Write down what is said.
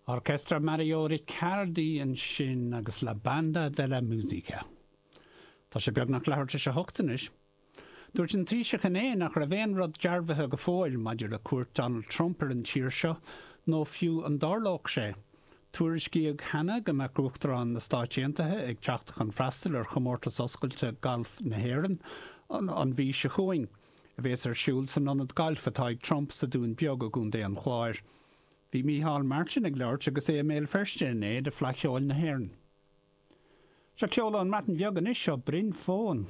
Orchestra Mario Ricciardi ansin agus La Banda della Musica. Tá sé beagnach leathuair tar éis a hocht anois. Dúirt an Taoiseach inné nach raibh aon rud dearbhaithe go fóill maidir le cuairt Donald Trump ar an tír seo, nó fiú an dtarlódh sé. Tuairiscíodh cheana go mbeadh Uachtarán na Stáit Aontaithe ag teacht chun freastal ar Chomórtas Oscailte Gailf na hÉireann an mhí seo chugainn, a bhéas ar siúl san ionad gailf atá ag Trump sa Dún Beag i gContae an Chláir. Bhí Micheál Martin ag labhairt agus é i mBéal Feirste inné do Fleadh Cheoil na hÉireann. Seo ceol ón mBreatain Bheag anois, ó Bryn Fôn.